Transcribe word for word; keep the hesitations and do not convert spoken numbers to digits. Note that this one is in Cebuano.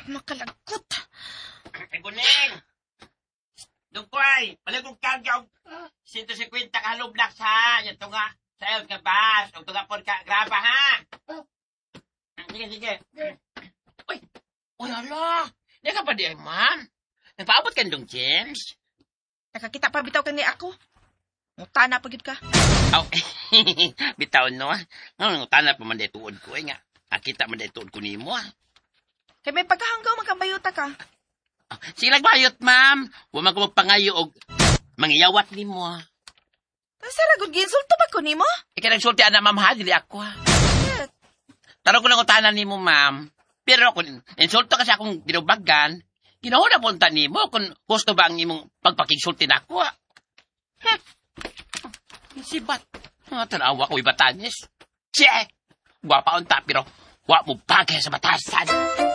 Makalagkot. Ay, Guning! Dungkoy, balik kong karga og one fifty ka hollow blocks ha. Yan tunga sa iyo ka bus. Og tunga pod ka graba ha. Sige, sige. Uy, uy, ala. Di ka pa di ay, ma'am. Nagpaabot ka dong, James? Nakakita pa bitaw kani ako. Mutana pa gyud ka. Aw, bitaw no. Nga, tana pa man tuod ko eh nga. Nakita man tuod ko nimo ah. Kay may pagkahanggaw magkambayuta ka. Sige lang bayot, ma'am. Wa man ko magpangayo og mangiyawat nimo ah. Sa ragod giinsulto ba ko nimo? Ikaw nagsulti ana, ma'am, ha, dili ako ha. Tarong ko lang utanan nimo, ma'am. Pero kung insulto ka sa akong ginubagan, ginahuna punta nimo kung gusto ba ang imong pagpakigsulti nako. ah. Hmm. Sibat. Ah, tanawa ko ibatanis. Che! Gwapa unta pero wa mo bagay sa batasan.